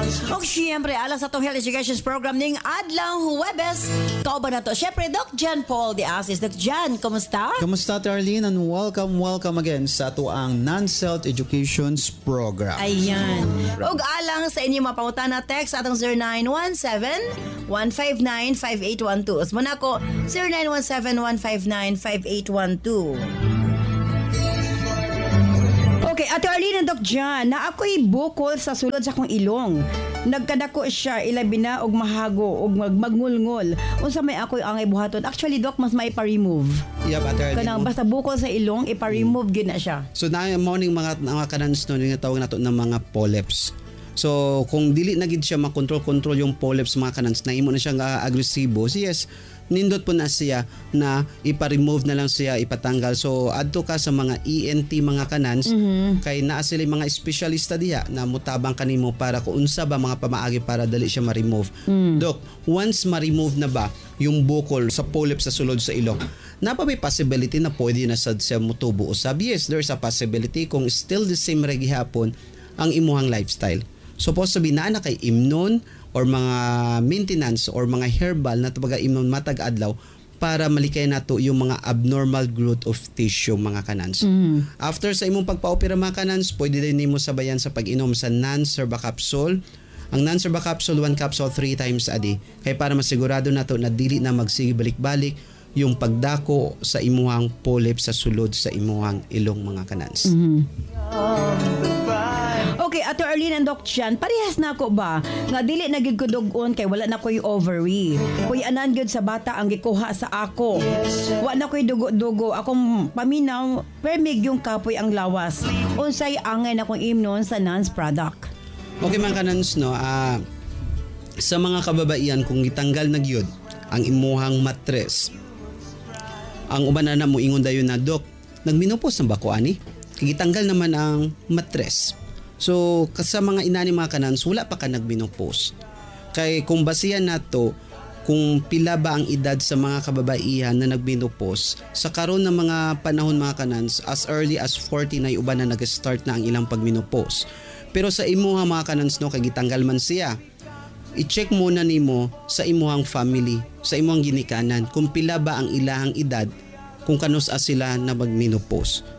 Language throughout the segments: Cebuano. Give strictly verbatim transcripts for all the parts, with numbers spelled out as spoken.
Og siyempre, alang sa atong Health Education Program ning Adlaw Huwebes. Kauban nato. Siyempre, Doc John Paul de Asis. Doc John, kumusta? Kamusta, Arlene? And welcome, welcome again sa atoang Non-Self Educations Program. Ayan. Og alang sa inyong mga pangutana, text atong zero nine one seven, one five nine, five eight one two. Usbon nako, zero nine one seven, one five nine, five eight one two. Okay, Ate Arlene and Doc John, naa ko'y bukol sa sulod sa akong ilong. Nagkadako siya, ilabi na og mahago og mag magngulngol. Unsa may ako'y angay buhaton? Actually, Doc, mas may pa-remove. Yep, Ate Arlene. Kanang basta bukol sa ilong, ipa-remove gyud na siya. So na mao ning mga mga kanans no, yung tawag nato ng mga polyps. So kung dili na gid siya makontrol-control yung polyps, mga kanans, na imo na siya nga agresibo. So yes, nindot po na siya na ipa-remove na lang siya, ipatanggal. So adto ka sa mga E N T, mga kanans, kay naa sila mga espesyalista diha na mutabang kanimo para kung unsa ba mga pamaagi para dali siya ma-remove. Doc, once ma-remove na ba yung bukol sa polyp sa sulod sa ilong, naa pa may possibility na pwede na sad siya mutubo usab? Yes, there's a possibility kung still the same ra gihapon ang imuhang lifestyle. Supposed to be naa na kay imnon or mga maintenance or mga herbal na tabaga imnon matag adlaw para malikay nato yung mga abnormal growth of tissue, mga kanans. After sa imong pagpaopera, mga kanans, pwede din nimo sabayan sa pag-inom sa non-serva capsule. Ang non-serva capsule, one capsule three times a day. Kay para masigurado nato na dili na magsige balik-balik yung pagdako sa imuhang polyp sa sulod sa imuhang ilong, mga kanans. Okay, Ate Arlene and Doc Chan, parehas na ako ba? Nga dili na gyud ko dugon kay wala na ko'y ovary. Kuy anan gyud sa bata ang gikuha sa ako. Wa na ko'y dugo-dugo. Akong paminaw, permig yung kapoy ang lawas. Unsay angay na kong imnon sa Nance product? Okay, mga kanans no, ah, sa mga kababaihan, kung gitanggal na gyud ang imuhang matres. Ang uban na na mo ingon dayon na, "Dok, nagmenopause na ba ko ani? Kay gitanggal naman ang matres." So sa mga inani, mga kanans, wala pa ka nagmenopause. Kay kung basihan nato kung pila ba ang edad sa mga kababaihan na nagmenopause sa karon ng mga panahon, mga kanans, as early as forty na uban na nag-start na ang ilang pagmenopause. Pero sa imuha, mga kanans no, kay gitanggal man siya, i-check muna nimo sa imuhang family, sa imuhang ginikanan, kung pila ba ang ilahang edad kung kanus-a sila na magmenopause.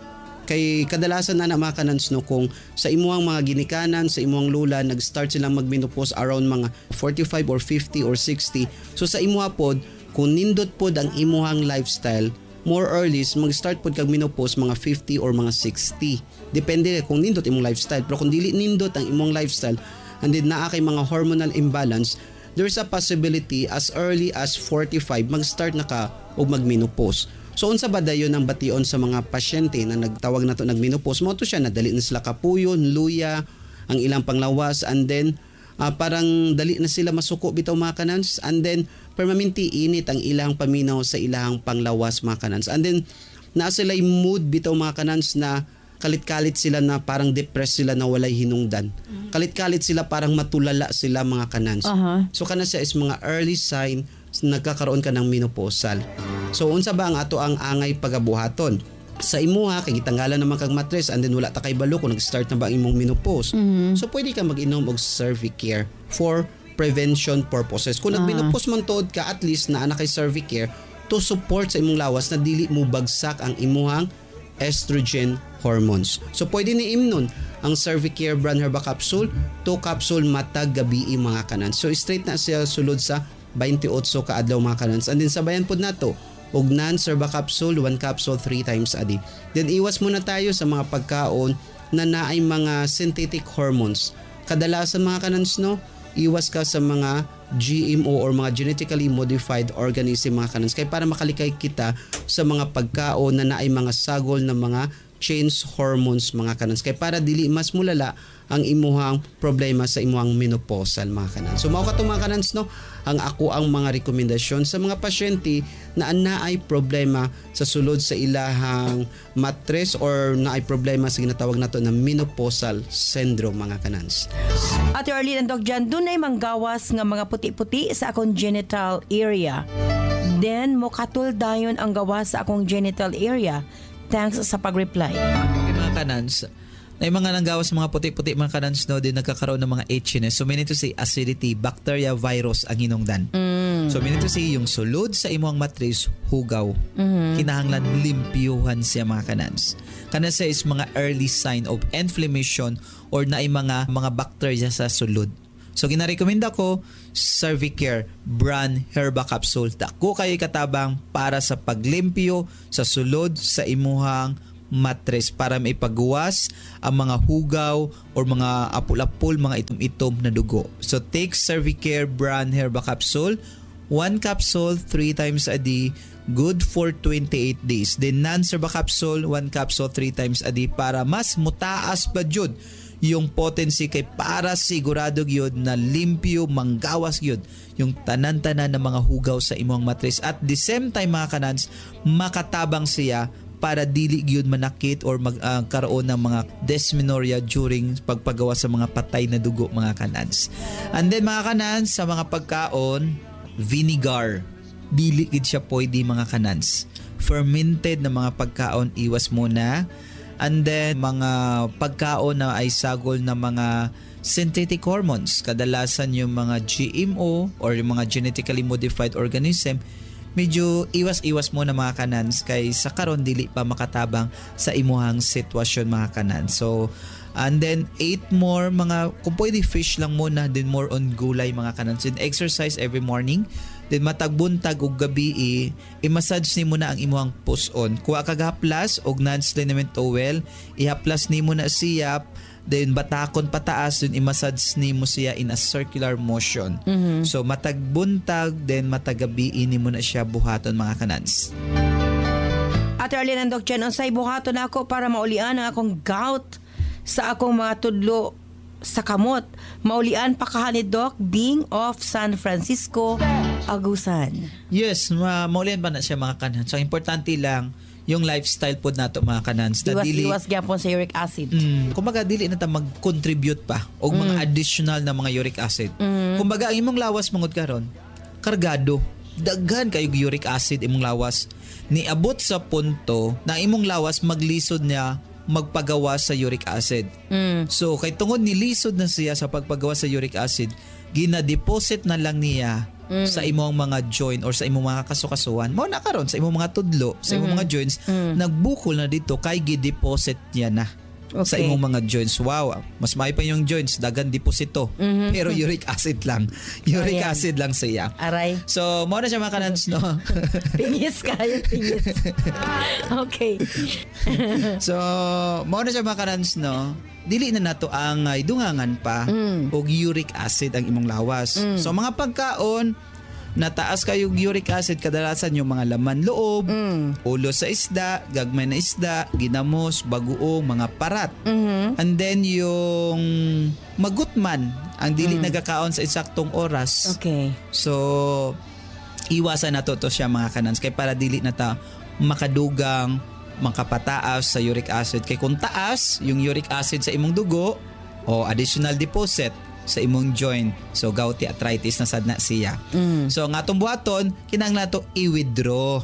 Kay kadalasan na na mga kanans no, kung sa imuhang mga ginikanan, sa imuhang lola, nag-start silang magmenopause around mga forty-five or fifty or sixty. So sa imuha pod, kung nindot pod ang imuhang lifestyle, more or less mag-start pod kag menopause mga fifty or mga sixty. Depende kung nindot imong lifestyle. Pero kung dili nindot ang imong lifestyle and then naa kay mga hormonal imbalance, there's a possibility as early as forty-five mag-start na ka og mag-menopause. So unsa ba dayon ang bation sa mga pasyente na nagtawag na to nagmenopause? Mao to siya nadali na sila kapuyon, luya, ang ilang panglawas, and then ah, parang dali na sila masuko bitaw, mga kanans, and then permanente init ang ilang paminaw sa ilang panglawas, mga kanans, and then naa sila mood bitaw, mga kanans, na kalit-kalit sila, na parang depressed sila na walay hinungdan. Kalit-kalit sila, parang matulala sila, mga kanans. Aha. So kana siya is mga early sign nagkakaroon ka ng menopausal. So unsa ba ang ato ang angay pagabuhaton? Sa imuha, kay gitanggalan naman kag matres and then wala ta kay balo kung nag-start na ba ang imong menopause. So pwede ka mag-inom og Cervicare for prevention purposes. Kung nag-menopause man tuod ka, at least naa na kay Cervicare to support sa imong lawas na dili mo bagsak ang imuhang estrogen hormones. So pwede ni imnon ang Cervicare brand herba capsule, two capsule matag gabi, mga kanan. So straight na siya sulod sa twenty-eight ka adlaw, mga kanans. And then sabayan pod nato og non-serva capsule, one capsule three times a day. Then iwas muna tayo sa mga pagkaon na naay mga synthetic hormones. Kadalasan, mga kanans no, iwas ka sa mga G M O or mga genetically modified organism, mga kanans, kay para makalikay kita sa mga pagkaon na naay mga sagol na mga change hormones, mga kanans, kay para dili mas mulala ang imuhang problema sa imuhang menopausal, mga kanans. So mao kato, mga kanans no, ang ako ang mga rekomendasyon sa mga pasyente na naay problema sa sulod sa ilahang matres or naay problema sa ginatawag nato na menopausal syndrome, mga kanans. Ate Arlene and Doc Jan, dunay manggawas nga mga puti-puti sa akong genital area. Then, mokatul dayon ang gawas sa akong genital area. Thanks sa pag-reply. Okay, mga kanans, Na yung mga nanggawas mga puti-puti mga kanans no din nagkakaroon ng mga itchiness. So meaning to say acidity, bacteria, virus ang hinungdan. Mm. So meaning to say yung sulod sa imong matris hugaw. Mm-hmm. Kinahanglan limpyuhan siya mga kanans. Kana siya is mga early sign of inflammation or naay mga mga bacteria sa sulod. So ginarekomenda ko Cervicare brand Herba Capsule. Dako kayo katabang para sa paglimpyo sa sulod sa imuhang matres para maipagawas ang mga hugaw or mga apul-apul, mga itom-itom na dugo. So take Cervicare brand Herba Capsule, one capsule three times a day, good for twenty-eight days. Then non-Herba Capsule, one capsule three times a day para mas mutaas pa jud yung potency kay para sigurado gyud na limpyo manggawas gyud yung tanan-tanan ng mga hugaw sa imong matris. At the same time mga kanans, makatabang siya para dili gyud manakit or magkaroon ng mga dysmenorrhea during pagpagawa sa mga patay na dugo mga kanans. And then mga kanans, sa mga pagkaon, vinegar dili gid siya pwede mga kanans. Fermented na mga pagkaon iwas muna. And then mga pagkaon na ay sagol na mga synthetic hormones, kadalasan yung mga G M O or yung mga genetically modified organism, medyo iwas-iwas mo na mga kanans kay sa karon dili pa makatabang sa imuhang sitwasyon mga kanan. So and then eight more mga kung pwede fish lang muna, then more on gulay mga kanans. Then exercise every morning. Then matag buntag ug gabi i i-massage nimo na ang imuhang puson. Kuha kag haplas og Nance liniment oil, ihaplas nimo na siya, then batakon pataas, then i-massage nimo siya in a circular motion. So matag buntag then matag gabi nimo na siya buhaton mga kanans. Ate Arlene and Doc Chen, unsay buhaton nako para maulian ang akong gout sa akong mga tudlo sa kamot? Maulian pa kaha ni Doc Bing of San Francisco, Agusan. Yes, ma maulian pa na siya mga kanans. So importante lang yung lifestyle pod nato mga kanans na dili Iwas-iwas gyapon sa uric acid. Mm, kumbaga dili na ta mag-contribute pa og mga additional na mga uric acid. Kumbaga ang imong lawas mangod karon kargado. Daghan kayo uric acid imong lawas. Niabot sa punto na imong lawas maglisod niya magpagawa sa uric acid. Mm. So kay tungod nilisod na siya sa pagpagawa sa uric acid, gina-deposit na lang niya sa imong mga joint or sa imong mga kasukasuan. Mao na karon sa imong mga tudlo, sa imong mga joints, nagbukol na dito kay gi-deposit niya na sa Okay. imong mga joints. Wow, mas maayo pa yung joints, daghan deposito. Pero uric acid lang. Uric Ayan. acid lang siya. Aray. So, mao na siya mga kanans, no? Pingis kayo, pingis. Okay. So, mao na siya mga kanans, no? Dili na nato ang uh, dungangan pa og uric acid ang imong lawas. So, mga pagkaon nataas kayo uric acid, kadalasan yung mga laman loob, ulo sa isda, gagmay na isda, ginamos, bagoong, mga parat. And then yung magutman, ang dili nagakaon sa eksaktong oras. Okay. So, iwasan nato to siya mga kanans kay para dili na ta makadugang makapataas sa uric acid. Kay kung taas yung uric acid sa imong dugo o additional deposit sa imong joint, so gouty arthritis na sad na siya. So ang atong buhaton, kinahanglan to i-withdraw,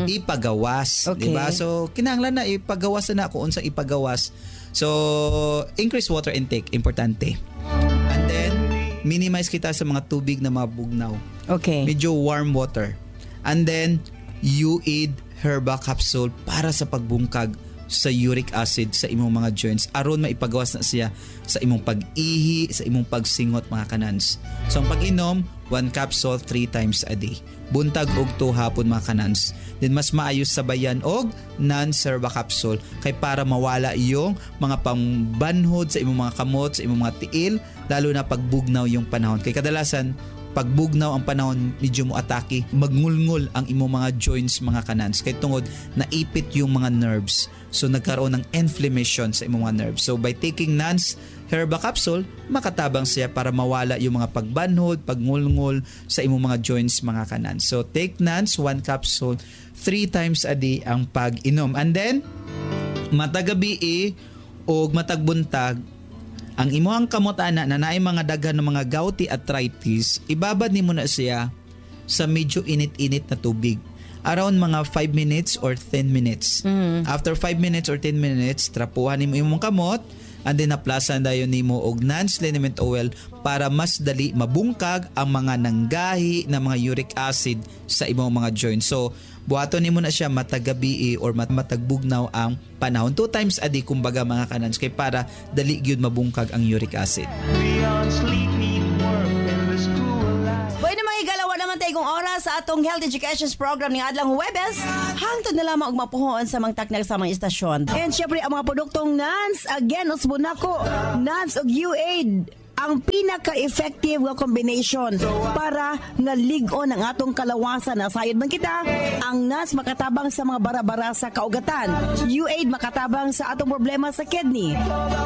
ipagawas, Okay. di ba? So kinahanglan na ipagawas na kung unsa ipagawas. So increase water intake importante. And then minimize kita sa mga tubig na mabugnaw. Okay. Medyo warm water. And then, you eat herba capsule para sa pagbungkag sa uric acid sa imong mga joints aron maipagawas na siya sa imong pag-ihi, sa imong pagsingot mga kanans. So ang pag-inom, one capsule three times a day. Buntag og two hapon mga kanans. Then mas maayos sabayan og non-serva capsule kay para mawala yung mga pangbanhod sa imong mga kamot, sa imong mga tiil, lalo na pagbugnaw yung panahon. Kay kadalasan pagbugnaw ang panahon medyo mo atake, magngulngul ang imong mga joints mga kanans kay tungod naipit yung mga nerves, so nagkaroon ng inflammation sa imong mga nerves. So by taking Nance Herba capsule, makatabang siya para mawala yung mga pagbanhod, pagngulngul sa imong mga joints mga kanans. So take Nance, one capsule three times a day ang pag-inom. And then matagabi og matagbuntag ang imuhang kamot ana na naay mga daghan ng mga gouty arthritis, ibabad nimo na siya sa medyo init-init na tubig. Around mga five minutes or ten minutes. After five minutes or ten minutes, trapuhan nimo imong kamot, And then haplasan dayon nimo og Nance liniment oil para mas dali mabungkag ang mga nanggahi na mga uric acid sa imong mga joints. So buhaton nimo na siya matag gabi or mat- matag bugnaw ang panahon. Two times a day kumbaga mga kanans kay para dali gyud mabungkag ang uric acid. Beyond sleep, heat, work, and the school life. Bueno mga higala, wa naman tayo kung oras sa atong Health Education Program ning adlang Huwebes. Hangtod na lamang og mapuhon sa mga taknag sa mga istasyon. And syempre ang mga produktong Nance, again, usbo nako, Nance ug U-Aid ang pinaka-effective nga combination para nga lig-on ang atong kalawasan na sayod man kita ang Nance makatabang sa mga bara-bara sa kaugatan U-Aid makatabang sa atong problema sa kidney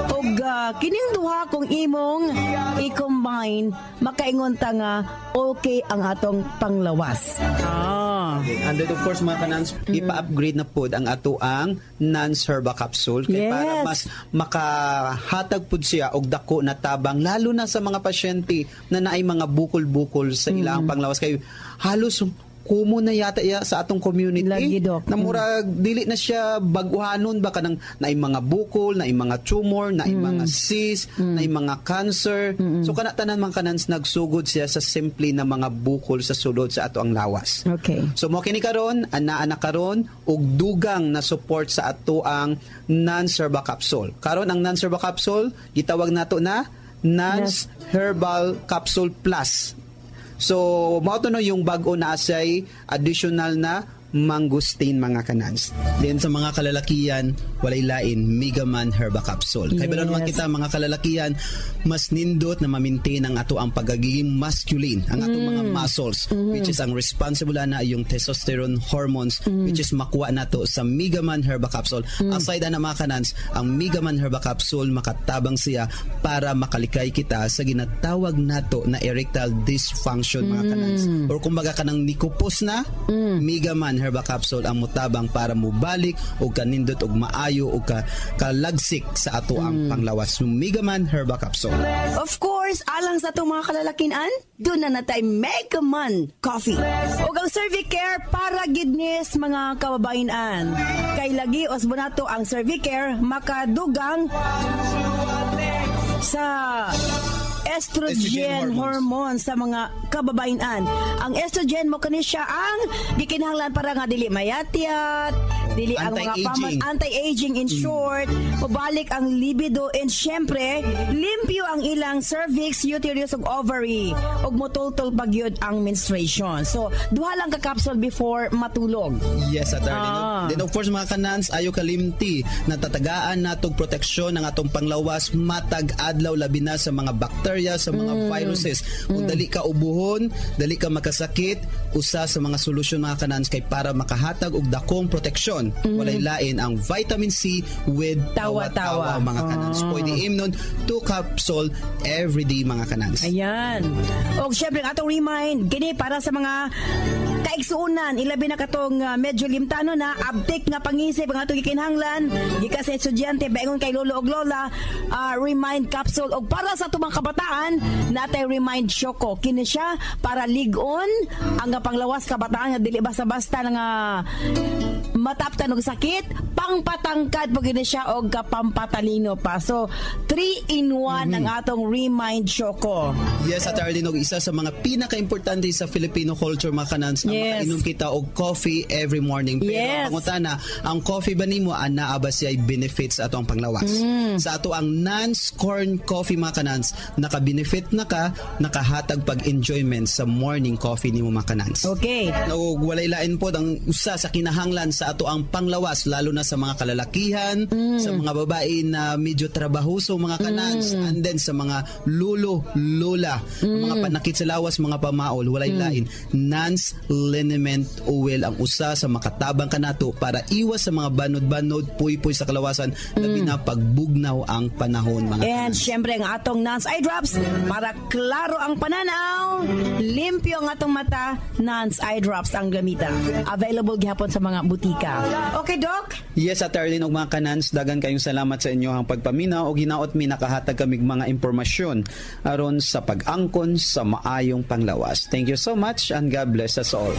ug uh, kining duha kung imong i-combine makaingon ta nga okay ang atong panglawas ah And then of course mga kanans, ipa-upgrade na pod ang ato ang Nance Herba Capsule kay Yes. para mas makahatag pod siya og dako na tabang lalo na sa mga pasyente na naay mga bukol-bukol sa ilang panglawas kay halos common na yata ya sa atong community Lagi, Dok. na murag dili na siya baguhanon ba kanang naay mga bukol, naay mga tumor, naay mga cyst, naay mga cancer. So kana tanan mga kanans nagsugod siya sa simple na mga bukol sa sulod sa ato ang lawas. okay So mo kini karon, ana-ana karon og dugang na support sa ato ang Nance Herba Capsule. Karon ang Nance Herba Capsule gitawag nato na Nance Herbal Capsule Plus. So mao to no yung bag-o na asay additional na mangosteen mga kanans. Then sa mga kalalakian, walay lain, Megaman Herba Capsule. Kay yes. naman Yes. kita mga kalalakian, mas nindot na ma-maintain ang ato ang pagiging masculine, ang atong mga muscles, which is ang responsible na yung testosterone hormones, which is makuha nato sa Megaman Herba Capsule. Aside na mga kanans, ang Megaman Herba Capsule makatabang siya para makalikay kita sa ginatawag nato na erectile dysfunction mga kanans. Or kumbaga kanang nikupos na, Megaman Herba Capsule ang mutabang para mubalik og kanindot og maayo og ka, kalagsik sa ato ang panglawas. Megaman Herba Capsule. Of course, alang sa atong mga kalalakian, doon na natay Megaman Coffee. Ug ang Cervicare para gidnis mga kababayan. Kay lagi osbonato ang Cervicare makadugang sa estrogen, Estrogen hormones. hormones sa mga kababayan. Ang estrogen mo kani siya ang gikinahanglan para nga dili mayatyat, dili ang mga Anti-aging. paman anti-aging in short, mabalik ang libido and syempre, limpyo ang ilang cervix, uterus ug ovary ug motultol pa gyud ang menstruation. So, duha lang ka capsule before matulog. Yes, attorney. Ah. Then of course mga kanans, ayo kalimti natatagaan natog proteksyon ang atong panglawas matag adlaw labi na sa mga bacteria, sa mga Mm. viruses. Kung dali ka ubuhon, dali ka makasakit, usa sa mga solusyon mga kanans kay para makahatag og dakong proteksyon. Walay lain ang vitamin C with Mm. Tawa-tawa. tawa-tawa mga kanans. Ah. Pwede imnon two capsule every day mga kanans. Ayan. O syempre ang atong remind kini para sa mga kaigsuonan ilabi na katong uh, medyo limtano na abtik nga pangisip ang atong gikinahanglan gikan sa estudyante baingon kay lolo og lola ah, remind capsule og para sa atong mga kabataan natay remind choco kini siya para lig-on ang panglawas kabataan nga dili basta-basta nga mataptan og sakit pangpatangkad po gini siya og kapampatalino pa so three in one ang atong remind choco Yes, at Arlene, og isa sa mga pinaka-importante sa Filipino culture mga kanans, ang Yes. makainom kita og coffee every morning. Pero Yes. ang pangutana, ang coffee ba nimo anaa ba siya benefits sa ato ang panglawas? Mm. Sa ato ang Nance Corn Coffee mga kanans, naka-benefit na ka, nakahatag pag-enjoyment sa morning coffee nimo mga kanans. okay Og walay lain po ang usa sa kinahanglan sa ato ang panglawas lalo na sa mga kalalakihan, sa mga babae na medyo trabahoso mga kanans, and then sa mga lulo, lola, mga panakit sa lawas, mga pamaol, walay lain. Nance Liniment Oil ang usa sa makatabang kanato para iwas sa mga banod-banod, puy-puy sa kalawasan, labi na pagbugnaw ang panahon mga And kanans. syempre ang atong Nance Eye Drops para klaro ang pananaw, limpyo ang atong mata, Nance Eye Drops ang gamita. Available gihapon sa mga butika. Okay, Doc? Yes, at Arlene ug mga kanans, dagan kayong salamat sa inyo ang pagpaminaw og hinaot mi nakahatag kamig mga impormasyon aron sa pag-angkon sa maayong panglawas. Thank you so much and God bless us all.